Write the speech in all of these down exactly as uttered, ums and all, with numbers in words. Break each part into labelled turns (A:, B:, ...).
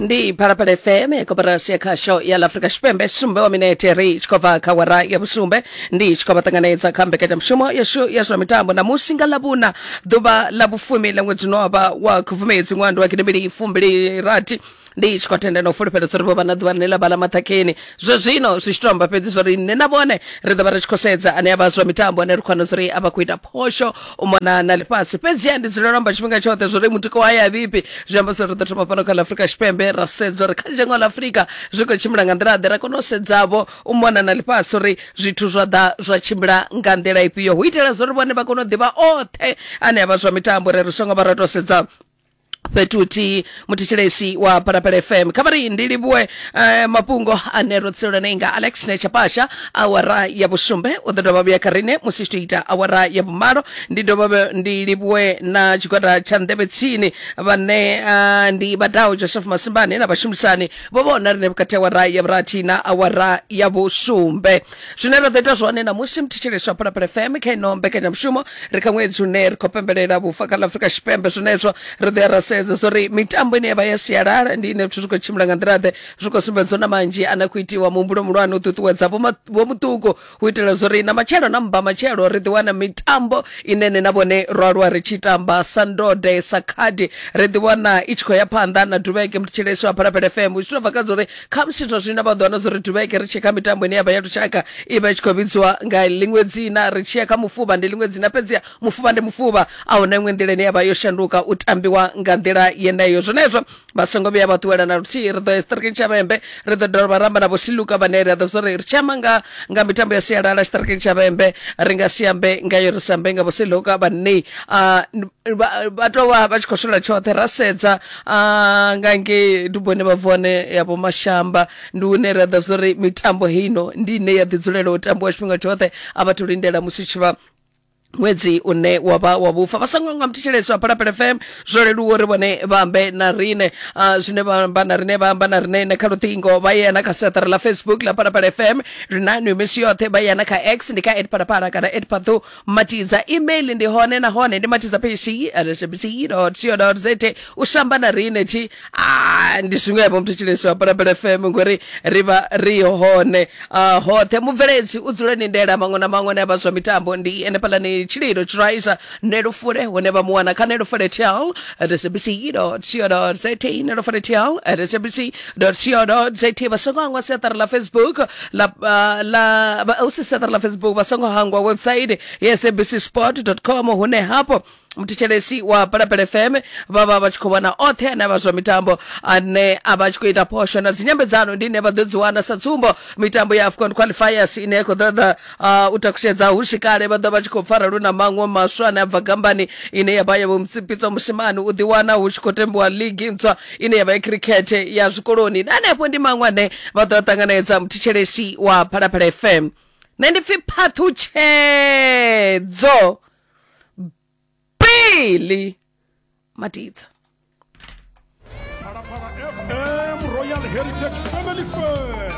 A: Ndi Phalaphala F M ya koporasi ya khasho ya ḽa Afrika Tshipembe. Sumbe wa minete ri tshi khou bva kha awara ya vhusumbe, ndi tshi khou vha ṱanganedza kha mbekanyamushumo yashu ya zwa mitambo. Ṋamusi nga Ḽavhuna, ḓuvha ḽa vhufumi ḽa ṅwedzi une wa vha wa Khubvumedzi ṅwando wa gidimbili fumbili rathi, ndi tshi khou tenda na u fulufhela uri vho vha na ḓuvha ḽine ḽa vha ḽa maṱhakheni. Zwe zwino zwi tshi to amba fhedzi zwa uri nṋe na vhone ri ḓo vha ri tshi khou sedza ane a vha zwa mitambo, ane ri khou wana uri a vha khou ita phosho u mona na ḽifhasi. Fhedziha ndi dzulela u amba tshifhinga tshoṱhe zwa uri mutiko wa ya vhiphi, zwi amba uri ri ḓo thoma fhano kha ḽa Afrika Tshipembe ra sedza uri kha dzhango ḽa Afrika zwi khou tshimbila nga nḓila ḓe, ra kona u sedzavho u mona na ḽifhasi uri zwithu zwa ḓa zwa tshimbila nga nḓila ifhio, hu itela zwa uri vhone vha kone u ḓivha oṱhe ane a vha zwa mitambo, uri ri songo vha ra tou sedza fhethu huthihi. Muthetshelesi wa Phalaphala F M, kha vha ri ndi livhuwe eh, mafhungo ane ro tsirelela nga Alex Nechapasha. Awara ya vhusumbe u ḓo dovha vhuya kha rine musi tshi ita awara ya vhumalo. Ndi dovha ndi livhuwe na tshigwada tsha nḓevhe tsini vhane uh, ndi Vhadau Joseph Masimbane na vhashumisani vho vhona rine vhukati awara ya vhurathi na awara ya vhusumbe. Zwine ra ḓo ita zwone namusi muthetshelesi wa Phalaphala F M kha ino mbekanyamushumo, ri kha ṅwedzi une ri khou pembelela vhufa kha ḽa Afrika Tshipembe, zwenezwo ri ḓo ya ra sedza zori mitambo ine ya vha ya sialala ndi ine zwithu zwi khou tshimbila nga nḓila ḓe, zwi khou sumbedza na manzhi ane khou itiwa muhumbulo muhulwane u ṱuṱuwedza vho muṱuku hu itela zori na matshelo na mba matshelo ri ḓi wana mitambo ine ne na vhone ro aluwa ri tshi tamba sa ndode sa khadi, ri ḓi wana i tshi khou ya phanḓa na duvheke. Muthetshelesi wa Phalaphala F M, zwi to bva kha zori khamusi zwa zwino vha ḓo wana zori duvheke ri tshi kha mitambo ine ya vha ya lushaka i vha i tshi khou vhidziwa nga ḽiṅwe dzina, ri tshi ya kha mufuvha ndi ḽiṅwe dzina, fhedziha mufuvha ndi mufuvha, a huna iṅwe nḓila ine ya vha yo shanduka u tambiwa nga nḓila yeneyo. Zwenezwo vha songo vhuya vha ṱuwela na luthihi. Ri ḓo ya tshiṱirikini tsha Vhembe, ri ḓo dovha ramba na Vho Siluka vhane ri ḓo zori ri tshi amba nga nga mitambo ya sialala tshiṱirikini tsha Vhembe ri nga si ambe ngayo, ri si ambe nga Vho Siluka vhane vha tou vha vha tshi khou swela tshoṱhe. Ra sedza nga ngei duboni vha bvone ya Vho Mashamba, ndi hune ra ḓo zori mitambo heino ndi ine ya ḓi dzulela u tambiwa tshifhinga tshoṱhe, a vha thu lindela musi tshi vha ṅwedzi une wa vha wa vhufa. Vha songo nga muthetshelesi wa Phalaphala F M, zwo leluwa uri vhone vha ambe na rine. uh, zwine vha amba na rine vha amba na rine na kha luṱingo, vha yena kha siaṱari ḽa Facebook ḽa Phalaphala F M, ri na nwi misi yoṱhe, vha yena kha X ndi kha at Phalaphala kana at Phathu Matiza. Email ndi hone nahone ndi matiza pc at sabc dot co dot za. U samba na rine thi ah, ndi zwiṅwevho muthetshelesi wa Phalaphala F M, ngori ri vha ri hone uh, hoṱhe. Mubveledzi u dzule ni ndela maṅwe na maṅwe ane a vha zwa mitambo ndi ene phalani Tshililo Tshiraisa Nelufule, hune vha mu wana kha Nelufule T L at sabc dot co dot za, Nelufule T L at sabc dot co dot za. Vha songo hangwa siaṱari ḽa Facebook la ḽa u si siaṱari ḽa Facebook, vha songo hangwa website ya sabc sport dot com, hune hafho muthetshelesi wa Phalaphala F M vha vha vha tshi khou vhona oṱhe ane a vha zwa mitambo ane a vha tshi khou ita phosho na dzinyambedzano ndi ine vha ḓo dzi wana. Sa tsumbo, mitambo ya AFCON qualifiers ine ya khou ḓo ḓa u takushedza hu si kale, vha ḓo vha tshi khou pfara lu na maṅwe maswa ane a bva gambani ine ya vha ya Vho Pitso Mosimane, u ḓi wana hu tshi khou tambiwa league ntswa ine ya vha ya cricket ya zwikoloni, na hanefho ndi maṅwe ane vha ḓo ṱanganedza. Muthetshelesi wa Phalaphala F M, nṋe ndi pfi Phaṱhutshedzo Billy Matiza.
B: Phalaphala F M Royal Heritage Family Fest.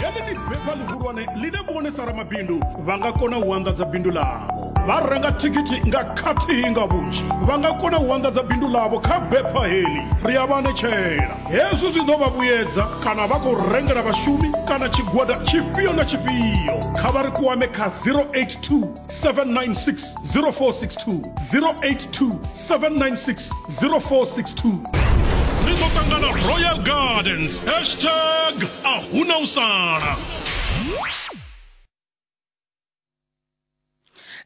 B: Heḽi ndi bepha ḽihulwane ḽine vhone sa ramabindu vha nga kona u anḓadza bindu ḽavho, vha renga thikhithi nga khathihi nga vhunzhi, vha nga kona u anḓadza bindu ḽavho kha bepha heḽi. Ri a vha anetshela hezwi zwi ḓo vha vhuyedza kana vha khou rengela vhashumi kana tshigwada tshifhio na tshifhio. Kha vha ri kwame kha zero eight two seven nine six zero four six two, zero eight two seven nine six zero four six two. Ri ḓo ṱangana Royal Gardens, hashtag a huna u sala.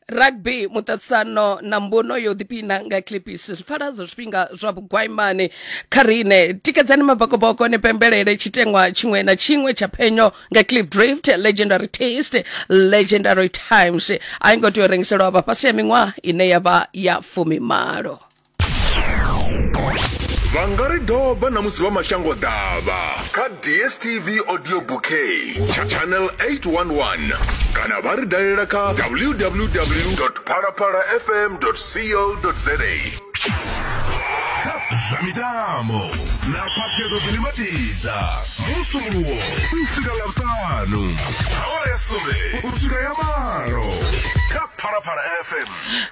A: Rugby muṱaṱisano na mbuno yo ḓiphina nga Clippies zwi pfala zwa zwifhinga zwa vhugwaimani kha rine. Tikedzani mabakoboko ni pembelele tshiteṅwa tshiṅwe na tshiṅwe tsha phenyo nga Cliff Drift, legendary taste, legendary times. A i ngo tea u rengiselwa vha fhasi ya miṅwaha ine ya vha ya fumimalo.
C: Vha nga ri doba na musi vha mashango ḓavha kha D S T V audio bouquet channel eight one one, kana vha ri dalela kha w w w dot phalaphala f m dot co dot za. Zwa mitambo na Phathedzo Ḓilimatidza Musumbulowo u swika Ḽavhuṱanu awara ya sumbe u swika ya malo kha Phalaphala F M.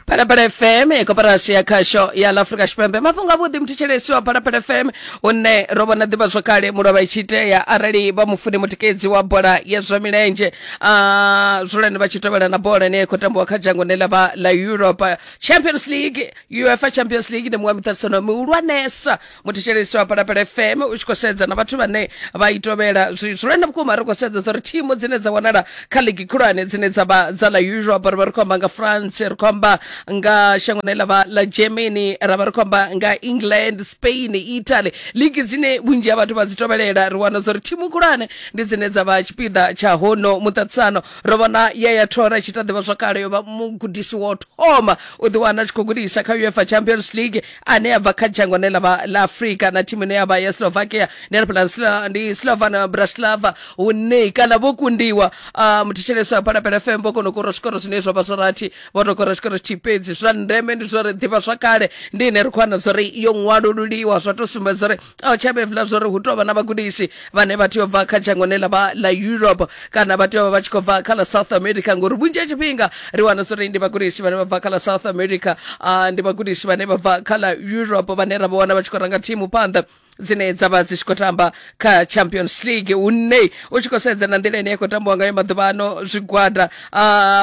A: Phalaphala F M, koporasi ya khasho ya ḽa Afrika Tshipembe. Mafhungo avhuḓi muthetshelesi wa Phalaphala F M, hune ro vhona ḓivhazwakale mulovha i tshi itea arali vha mufuni mutikedzi wa bola ya zwa milenzhe, uh, zwulwane vha tshi tovhela na bola ine ya khou tambiwa kha dzhango ḽine ḽa vha ḽa Europe. Champions League, UEFA Champions League ndi muṅwe wa miṱaṱisano mihulwanesa muthetshelesi wa Phalaphala F M, u tshi khou sedza na vhathu vhane vha i tovhela. Zwulwane vhukuma ri khou sedza uri thimu dzine dza wanala kha ligi khulwane dzine dza vha dza ḽa Europe, ri vha ri khou amba nga France, ri khou amba nga shango ḽine ḽa vha ḽa Germany, ra vha ri khou amba nga England, Spain, Italy, ligi dzine vhunzhi ha vhathu vha dzi tovhelela. Ri wana uri thimu khulwane ndi dzine dza vha tshipiḓa tsha hono muṱaṱisano. Ro vhona Yaya Toure tshi ta ḓivhazwakale yo vha mugudisi wa u thoma u ḓiwana a tshi khou gudisa kha UEFA Champions League ane a bva kha dzhango ḽine ḽa vha ḽa Afrika na thimu ine ya vha ya Slovakia, ndi hanefhaḽa ndi Slovan Bratislava, hune kana vho kundiwa uh, muthetshelesi wa Phalaphala F M vho kona u kora zwikoro zwine zwa vha zwa rathi, vho to kora tshikoro tshithihi fhedzi. Zwa ndeme ndi zwa uri ḓivhazwakale ndi ine ri khou wana zwa uri yo ṅwalululiwa, zwa to sumbedza uri a tsha vhevula zwa uri hu tou vha na vhagudisi vhane vha tea u bva kha dzhango ḽine ḽa vha ḽa Europe kana vha tea u vha vha tshi khou bva kha ḽa South America, ngori vhunzhi ha tshifhinga ri wana zwa uri ndi vhagudisi vhane vha bva kha ḽa South America, uh, ndi vhagudisi vhane vha bva kha ḽa Europe vhane ra vha wana vha tshi khou ranga thimu phanḓa dzine dza vha dzi tshi khou tamba kha Champions League, hune u tshi khou sedza na nḓila ine ya khou tambiwa ngayo maḓuvha ano zwigwada,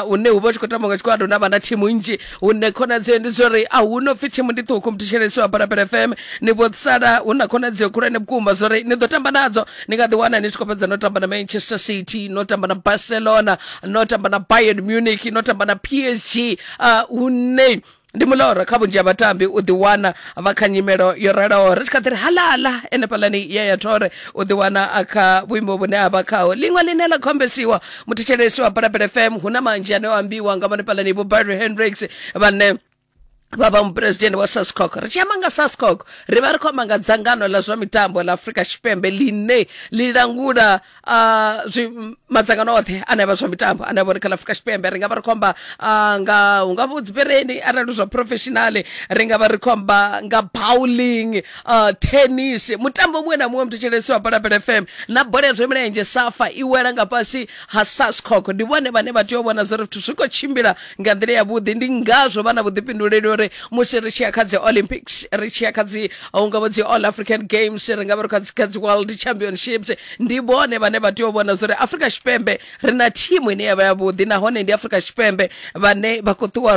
A: hune hu vha hu tshi khou tambiwa nga tshigwada hune ha vha na thimu nnzhi, hune khonadzeo ndi zwa uri a hu no pfi thimu ndi ṱhukhu. Muthetshelesi wa Phalaphala F M, ni vho sala hu na khonadzeo khulwane vhukuma zwa uri ni ḓo tamba nadzo, ni nga ḓi wana ni tshi khou fhedza no tamba na Manchester City, no tamba na Barcelona, no tamba na Bayern Munich, no tamba na P S G, hune ndi muloro kha vhunzhi ha vhatambi u ḓiwana vha kha nyimelo yo raloho. Ri tshi kha ḓi ri halala enefhaḽani Yaya Toure u ḓiwana a kha vhuimo vhune a vha khaho. Ḽiṅwe ḽine ḽa khombesiwa muthetshelesi wa Phalaphala F M, hu na manzhi ane o ambiwa nga vhanefhaḽani vho Barry Hendricks vhane vha vha muphuresidennde wa SASCOC. Ri tshi amba nga SASCOC ri vha ri khou amba nga dzangano ḽa zwa mitambo ḽa Afrika Tshipembe ḽine ḽi langula uh, zwi madzangano oṱhe ane a vha zwa mitambo ane a vha uri kha ḽa Afrika Tshipembe. Ri nga vha ri khou amba uh, nga hu nga vha dzipireni arali zwa professional, ri nga vha ri khou amba nga bowling, uh, tennis, mutambo muṅwe na muṅwe muthetshelesi wa Phalaphala F M na bola ya zwa milenzhe SAFA i wela nga fhasi ha SASCOC. Ndi vhone vhane vha tea u vhona zwa uri zwithu zwi khou tshimbila nga nḓila yavhuḓi, ndi ngazwo vha na vhuḓifhinduleli uri musi ri tshi ya kha dzi Olympics, ri tshi ya kha dzi hu nga vha dzi All African Games, ri nga vha ri kha dzi World Championships, ndi vhone vhane vha tea u vhona zwa uri Afrika Tshipembe ri na thimu ine ya vha yavhuḓi, nahone ndi Afrika Tshipembe vhane vha khou ṱuwa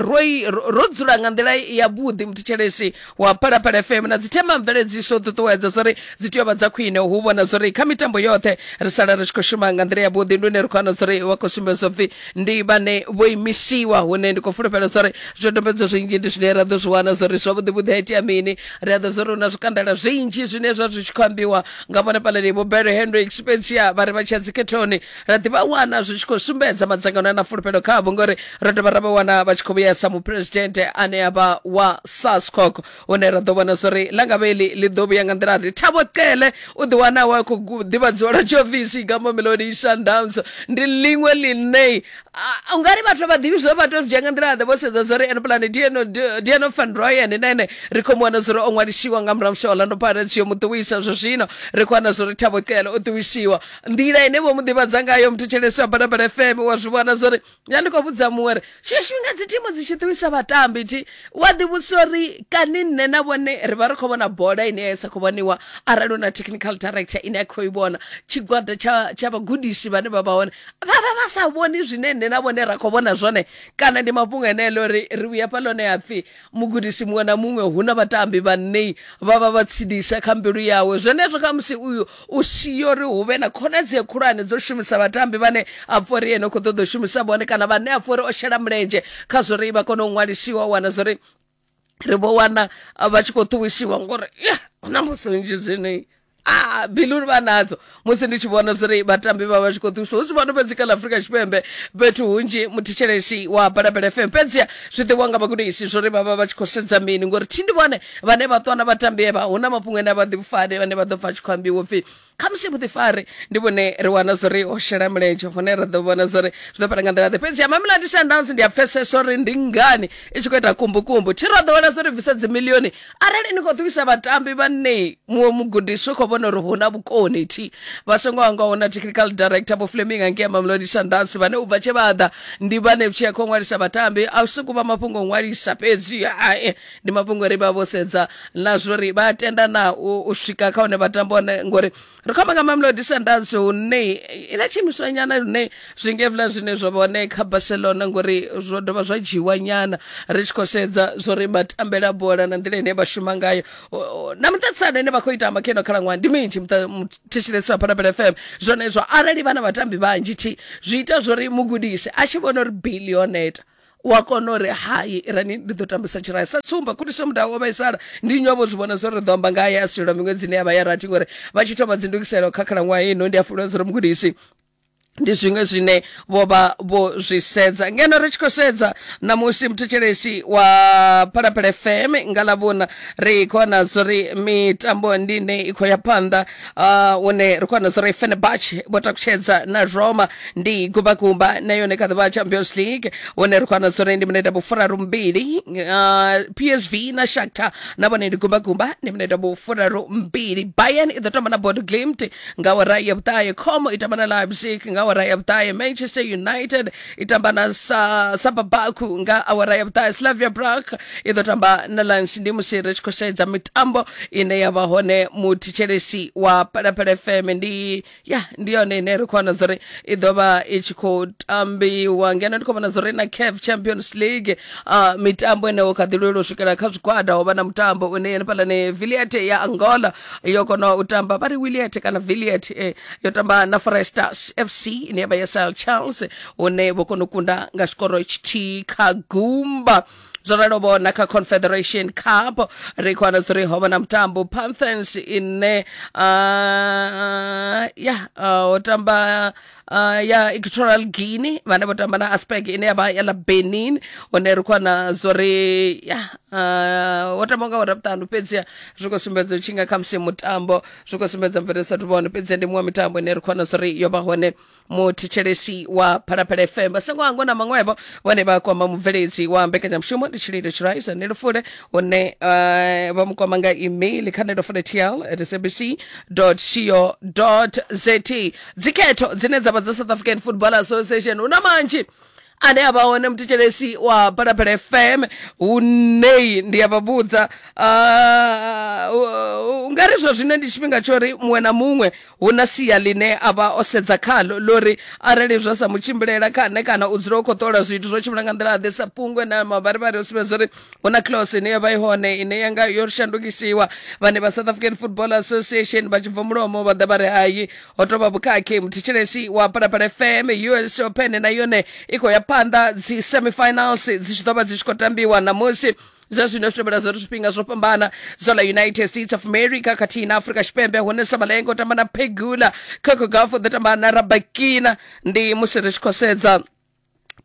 A: ro dzula nga nḓila yavhuḓi. Muthetshelesi wa Phalaphala F M na dzi themamveledziso ṱuṱuwedza zwa uri dzi tea u vha dza khwine, hu vhona zwa uri kha mitambo yoṱhe ri sala ri tshi khou shuma nga nḓila yavhuḓi. Ndi hune ri khou wana zwa uri vha khou sumbedza upfhi ndi vhane vho imisiwa, hune ndi khou fulufhela zwa uri zwidodombedzwa zwinzhi ndi zwine ra ḓo zwi wana zwa uri zwavhuḓi vhuḓi ha itea mini. Ri a ḓo zwa uri hu na zwikandala zwinzhi zwine zwa zwi tshi khou ambiwa nga vhone fhaḽani vho Barry Hendricks, fhedziha vha ri vha tshi ya dzikhethoni ra ḓi vha wana zwi tshi khou sumbedza madzangano a na fulufhelo khavho, ngori ro dovha ra vha wana vha tshi khou vhuya sa muphuresidennde ane a vha wa SASCOC, hune ra ḓo vhona zwa uri ḽa nga vha iḽi ḽi ḓo vhuya nga nḓila ḓe. Thabo Cele u ḓi wana wa khou ḓivhadziwa lwa tshiofisi nga Mamelodi Sundowns, ndi ḽiṅwe ḽine u nga ri vhathu vha ḓivhi zwa vha tea u zwi dzhia nga nḓila ḓe, vho sedza zwa uri ene Diano Diano van Rooyen na ene ri khou mu wana zwa uri o ṅwalisiwa nga murahu musi Orlando Pirates yo mu ṱuwisa. Zwa zwino ri khou wana zwa uri Thabo Cele o ṱuwisiwa. Nḓila ine vho mu ḓivhadza ngayo muthetshelesi wa Phalaphala F M wa zwi vhona zwa uri nṋe ndi khou vhudza muṅwe uri tshiṅwe tshifhinga dzi thimu dzi tshi ṱuwisa vhatambi thi wa ḓivhudzisa uri kani nṋe na vhone ri vha ri khou vhona bola ine ya sa khou vhoniwa arali hu na technical director ine a khou i vhona, tshigwada tsha tsha vhagudisi vhane vha vha hone vha vha vha sa vhoni zwine nṋe na vhone ra khou vhona zwone, kana ndi mafhungo eneelo uri ri vhuya fhaḽa ha pfi mugudisi muṅwe na muṅwe hu na vhatambi vhane vha vha vha tsidisa kha mbilu yawe. Zwenezwo kha musi uyu u siyo uri hu vhe na khonadzeo khulwane dzo shumisa vhatambi vhane a pfha uri ene u khou ṱoḓa u shumisa vhone, kana vhane a pfha uri o shela mulenzhe kha zwa uri vha kone u ṅwalisiwa, wana zwa uri ri vho wana vha tshi khou ṱuwisiwa ngori hu na mbudziso nnzhi dzine ah mbilu vha nadzo musi ndi tshi vhona zwa uri vhatambi vha vha tshi khou ṱuwisiwa. Hu si vhano fhedzi kha ḽa Afrika Tshipembe, fhethu hunzhi muthetshelesi wa Phalaphala F M, fhedziha zwi ḓivhiwa nga vhagudisi zwa uri vha vha vha tshi khou sedza mini, ngori thi ndi vhone vhane vha ṱwa na vhatambi evha. Hu na mafhungo ane a vha ḓifani vhane vha ḓo pfa tshi khou ambiwa upfhi Khamusi vhuḓifari ndi vhune ri wana zwori ho shela mulenzhe, hune ra ḓo vhona zwori zwi ḓo fhela nga nḓila ḓe. Fhedzi ya Mamelodi Sundowns ndi a pfesesa uri ndi ngani i tshi khou ita kumbukumbu, thi ra ḓo wana zwori bvisa dzimilioni arali ni khou ṱuwisa vhatambi vhane muṅwe mugudisi u khou vhona uri hu na vhukoni thi vha songo hangwa hu na technical director Vho Fleming angei Mamelodi Sundowns, vhane u bva tshe vha ḓa ndi vhane tshi ya khou ṅwalisa vhatambi. A si kuvha mafhungo o ṅwalisa fhedzi, hai, ndi mafhungo uri vha vho sedza na zwori vha tenda na u, u swika kha hune vhatambi hone, ngori ri khou amba nga Mamelodi Sundowns hune ina tshiimiswa nyana lune zwi nge hezwiḽa zwine zwa vha hone kha Barcelona, ngori zwo dovha zwa dzhiwa nyana ri tshi khou sedza zwori matambele a bola na nḓila ine vha shuma ngayo na muṱaṱisano ine vha khou ita kha ino khalaṅwaha ndi minzhi. Muthetshelesi wa Phalaphala F M, zwone zwo arali vha na vhatambi vhanzhi thi zwi ita zwori mugudisi a tshi vhona uri bili yo neta wa kona uri hai irani ndi ḓo tambisa tshirayi. Sa tsumba Khuliso Mudau o vhaisala, ndi nnyi wavho zwi vhona zwo ri ḓo amba ngaye a silwa miṅwedzini ya vha ya rathi, ngori vha tshi thoma dzindugiselo kha khalaṅwaha ino ndi a fulufhedza uri mugudisi ndi zwiṅwe zwine vho vha vho zwi sedza. Ngeno ri tshi khou sedza ṋamusi muthetshelesi wa Phalaphala F M nga ḽavhuna ri khou wana zwori mitambo ndi ine i khou ya phanḓa, hune ri khou wana zwori Fenerbahce vho takutshedza na Roma ndi gumbakumba na yone kha ḓuvha Champions League, hune ri khou wana zwori ndi minete vhufuraru mbili P S V na Shakhtar na vhone ndi gumbakumba ndi minete vhufuraru mbili. Bayern i ḓo tamba na Bodo Glimt nga awara ya vhuṱahe, Como i tamba na Leipzig nga awara ya vhuṱahe, Manchester United i tamba na Sababaku nga awara ya vhuṱahe, Slavia Prague i ḓo tamba na Lens. Ndi musi ri tshi khou sedza mitambo ine ya vha hone muthetshelesi wa Phalaphala F M, ndi ya ndi yone ine ri khou wana zwori i ḓo vha i tshi khou tambiwa. Ngeno ndi khou vhona zwori na CAF Champions League uh, mitambo ine kha ḓi lwela u swikela kha zwigwada, ho vha na mutambo une henefhaḽa ni Villiet ya Angola yo kona u tamba, vha ri Williet kana Villiet eh, yo tamba na Foresters F C ine ya vha ya Sir Charles, hune vho kona u kunda nga tshikoro tshithihi kha gumba. Zwo ralo vhona kha Confederation Cup ri khou wana zwori ho vha na mutambo Panthers ine uh, ya uh, tamba uh, ya Equatorial Guinea vhane vho tamba na Aspec ine ya vha ya ḽa Benin, hune ri khou wana zwori ya uh, wo tamba nga awara vhuṱanu, fhedziha zwi khou sumbedza tshi nga khamusi mutambo zwi khou sumbedza mvelele sa thu vhone, fhedziha ndi muṅwe mitambo ine ri khou wana zwori yo vha hone muthetshelesi wa Phalaphala F M. Vha songo hangwa na maṅwevho vhone vha kwama mubveledzi wa mbekanyamushumo ndi Tshililo Tshiraisa Nelufule, hune uh, vha mu kwama nga email kha nelufule t l at s a b c dot co dot z a. Dzikhetho dzine dza vha dza South African Football Association hu na manzhi ane a vha hone muthetshelesi wa Phalaphala F M, hune ndi a vha vhudza uh, nga ri zwa zwino ndi tshifhinga tsho ri muṅwe na muṅwe hu na sia ḽine a vha o sedza khalo lori arali zwa sa mutshimbilela kha nṋe kana u dzula u khou ṱola zwithu zwo tshimbila nga nḓila ḓe sa pungwe na mavharivhari o sumbedza uri hu na clause ine ya vha i hone ine ya nga yo shandukisiwa. Vhane vha South African Football Association vha tshi bva mulomo vha ḓa vha ri hai ho tou vha vhukhakhi. Muthetshelesi wa Phalaphala F M, U S Open na yone i khou ya phanḓa, dzi semifinals dzi tshi ḓo vha dzi tshi khou tambiwa ṋamusi. Zwa zwino zwi tevhela zwori zwifhinga zwo fhambana zwa ḽa United States of America khathihi na Afrika Tshipembe, hune Sabalenga u tamba na Pegula, Coco Gauff u ḓo tamba na Rabakina. Ndi musi ri tshi khou sedza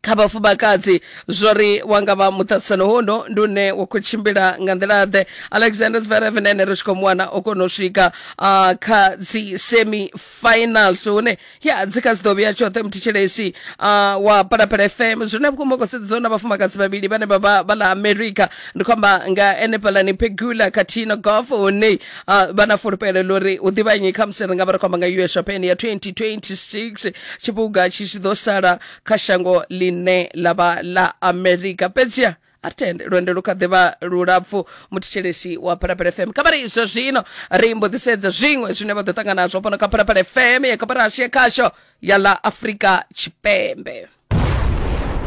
A: kha vhafumakadzi zwori wa nga vha muṱaṱisano hono ndi une wa khou tshimbila nga nḓila ḓe. Alexander Zverev na ene ri tshi khou mu wana o kona u swika uh, kha dzi semi finals, hune ya dzi kha dzi ḓo vhuya tshoṱhe. Muthetshelesi uh, wa Phalaphala F M, zwine vhukuma khou sedza na vhafumakadzi vhavhili vhane vha vha vha ḽa America, ndi khou amba nga enefhaḽani Pegula khathihi na Gauff, hune uh, vha na fulufhelo ḽori u ḓivha nnyi khamusi ri nga vha ri khou amba nga U S Open ya twenty twenty-six, tshiphuga tshi tshi ḓo sala kha shango ḽine ḽa vha ḽa America. Fhedziha a ri tende lwendo lu kha ḓi vha lulapfu. Muthetshelesi wa Phalaphala F M, kha vha ri zwa zwino ri mbo ḓi sedza zwiṅwe zwine vha ḓo ṱangana nazwo fhano kha Phalaphala F M ya koporasi ya khasho ya ḽa Afrika Tshipembe.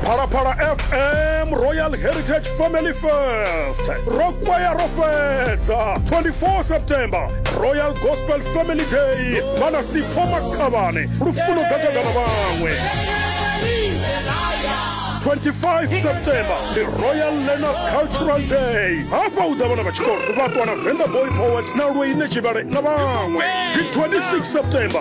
B: Phalaphala F M Royal Heritage Family Fest ro kwaya ro fhedza twenty-four September Royal Gospel Family Day vhana Sipho Makhavhane Lufuno Gagaga na vhaṅwe. Twenty-five September the Royal Learners Cultural Day hafha u ḓa vhana vha tshikolo vha ṱwa na Venda Boy Poet na Lweine Tshivhale na vhaṅwe. Dzi twenty-six September